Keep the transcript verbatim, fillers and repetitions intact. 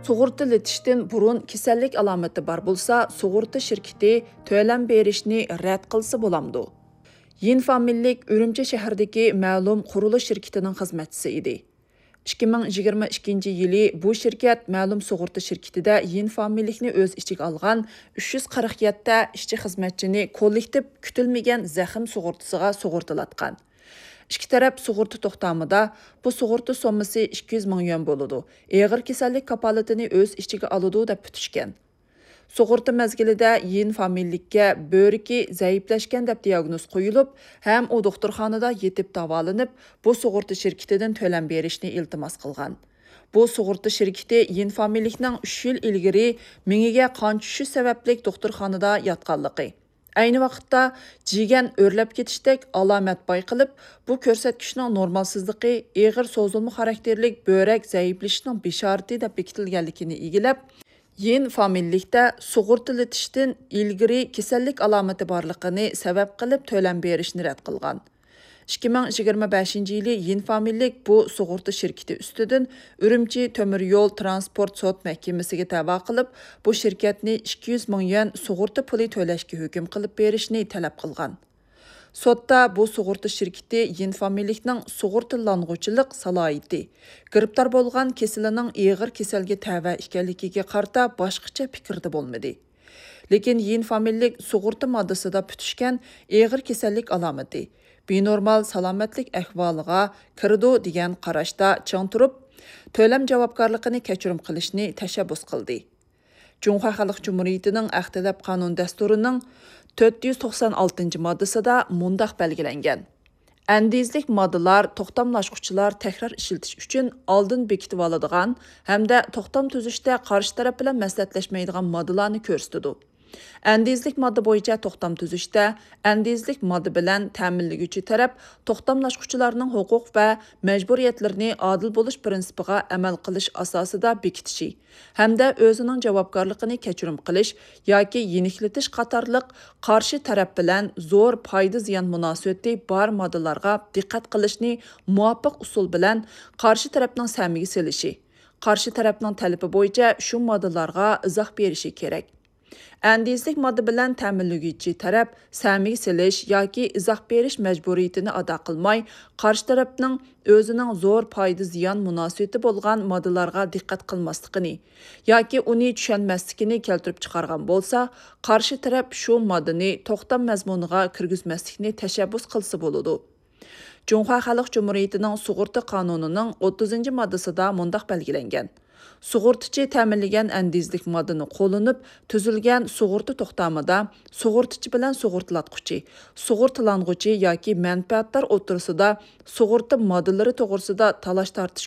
سۇغۇرتىلىتىشتىن بۇرۇن كېسەللىك ئالامىتى بار بولسا، سۇغۇرتا شىركىتى تۆلەم بېرىشنى رەت قىلسا بولامدۇ؟ يىن فامىلىلىك ئۈرۈمچى شەھىرىدىكى مەلۇم قۇرۇلۇش شىركىتىنىڭ خىزمەتچىسى ئىدى. ئىككى مىڭ يىگىرمە ئىككىنچى يىلى بۇ شىركەت مەلۇم سۇغۇرتا شىركىتىدە يىن فامىلىلىكنى ئۆز ئىچىگە ئالغان ئۈچ يۈز قىرىق يەتتە ئىشچى خىزمەتچىنى كوللېكتىپ كۈتۈلمىگەن زەخىم سۇغۇرتىسىغا سۇغۇرتىلاتقان. ئىككى تەرەپ سۇغۇرتا توختامىدا بۇ سۇغۇرتا سوممىسى ئىككى يۈز مىڭ يۈەن بولىدۇ، ئېغىر كېسەللىك كاپالىتىنى ئۆز ئىچىگە ئالىدۇ دەپ پۈتۈشكەن. سۇغۇرتا مەزگىلىدە يىن فامىلىلىككە بۆرىكى زەئىپلەشكەن دەپ دىياگنوز قويۇلۇپ، ھەم ئۇ دوختۇرخانىدا يېتىپ داۋالىنىپ، بۇ سۇغۇرتا شىركىتىدىن تۆلەم بېرىشنى ئىلتىماس قىلغان. بۇ سۇغۇرتا شىركىتى يىن فامىلىلىكنىڭ ئۈچ يىل ئىلگىرى مېڭىگە قان چۈشۈش سەۋەبلىك دوختۇرخانىدا ياتقانلىقى، ئەينى ۋاقىتتا جىگەن ئۆرلەپ كېتىشتەك ئالامەت بايقىلىپ، بۇ كۆرسەتكۈچنىڭ نورمالسىزلىقى ئېغىر سوزۇلما خاراكتېرلىك بۆرەك زەئىپلىشىشنىڭ بېشارىتى دەپ بېكىتىلگەنلىكىنى ئىگىلەپ، يىن فامىلىلىكتە سۇغۇرتىلىتىشتىن ئىلگىرى كېسەللىك ئالامىتى بارلىقىنى سەۋەب قىلىپ تۆلەم بېرىشنى رەت قىلغان. ئىككى مىڭ يىگىرمە بەشىنچى يىلى يىن فامىلىلىك بۇ سۇغۇرتا شىركىتى ئۈستىدىن ئۈرۈمچى تۆمۈر يول ترانسپورت سوت مەھكىمىسىگە دەۋا قىلىپ، بۇ شىركەتنى ئىككى يۈز مىڭ يۈەن سۇغۇرتا پۇلى تۆلەشكە ھۆكۈم قىلىپ بېرىشنى تەلەپ قىلغان. سوتتا بۇ سۇغۇرتا شىركىتى يىن فامىلىلىكنىڭ سۇغۇرتىلانغۇچىلىق سالاھىيىتى، گىرىپتار بولغان كېسىلىنىڭ ئېغىر كېسەلگە تەۋە ئىكەنلىكىگە قارىتا باشقىچە پىكىردە بولمىدى. لېكىن يىن فامىلىلىك سۇغۇرتا ماددىسىدا پۈتۈشكەن ئېغىر كېسەللىك ئالامىتى، بىنورمال سالامەتلىك ئەھۋالىغا كىرىدۇ دېگەن قاراشتا چىڭ تۇرۇپ، تۆلەم جاۋابكارلىقىنى كەچۈرۈم قىلىشنى تەشەببۇس قىلدى. جۇڭخۇا خەلق جۇمھۇرىيىتىنىڭ ئەقلىيەت قانۇن دەستۇرىنىڭ تۆت يۈز توقسان ئالتىنچى ماددىسىدا مۇنداق بەلگىلەنگەن: ئەندىزىلىك ماددىلار، توختاملاشقۇچىلار تەكرار ئىشلىتىش ئۈچۈن ئالدىن بېكىتىۋالىدىغان ھەمدە توختام تۈزۈشتە قارشى تەرەپ بىلەن مەسلىھەتلەشمەيدىغان ماددىلارنى كۆرسىتىدۇ. ئەندىزىلىك ماددا بويىچە توختام تۈزۈشتە ئەندىزىلىك ماددا بىلەن تەمىنلىگۈچى تەرەپ توختاملاشقۇچىلارنىڭ ھوقۇق ۋە مەجبۇرىيەتلىرىنى ئادىل بولۇش پىرىنسىپىغا ئەمەل قىلىش ئاساسىدا بېكىتىشى ھەمدە ئۆزىنىڭ جاۋابكارلىقىنى كەچۈرۈم قىلىش ياكى يېنىكلىتىش قاتارلىق قارشى تەرەپ بىلەن زور پايدا زىيان مۇناسىۋىتى بار ماددىلارغا دىققەت قىلىشنى مۇۋاپىق ئۇسۇل بىلەن قارشى تەرەپنىڭ سەمىگە سېلىشى، قارشى تەرەپنىڭ تەلىپى بويىچە شۇ ماددىلارغا ئىزاھ بېرىشى كېرەك. ئەندىزىلىك ماددا بىلەن تەمىنلىگۈچى تەرەپ سەمىگە سېلىش ياكى ئىزاھ بېرىش مەجبۇرىيىتىنى ئادا قىلماي، قارشى تەرەپنىڭ ئۆزىنىڭ زور پايدا زىيان مۇناسىۋىتى بولغان ماددىلارغا دىققەت قىلماسلىقىنى ياكى ئۇنى چۈشەنمەسلىكىنى كەلتۈرۈپ چىقارغان بولسا، قارشى تەرەپ شۇ ماددىنى توختام مەزمۇنىغا كىرگۈزمەسلىكنى تەشەببۇس قىلسا بولىدۇ. جۇڭخۇا خەلق جۇمھۇرىيىتىنىڭ سۇغۇرتا قانۇنىنىڭ ئوتتۇزىنچى ماددىسىدا مۇنداق بەلگىلەنگەن: سۇغۇرتىچى تەمىنلىگەن ئەندىزىلىك ماددىنى قوللىنىپ تۈزۈلگەن سۇغۇرتا توختامىدا سۇغۇرتىچى بىلەن سۇغۇرتىلاتقۇچى، سۇغۇرتىلانغۇچى ياكى مەنپەئەتدار ئوتتۇرىسىدا سۇغۇرتا ماددىلىرى توغرىسىدا تالاش-تارتىش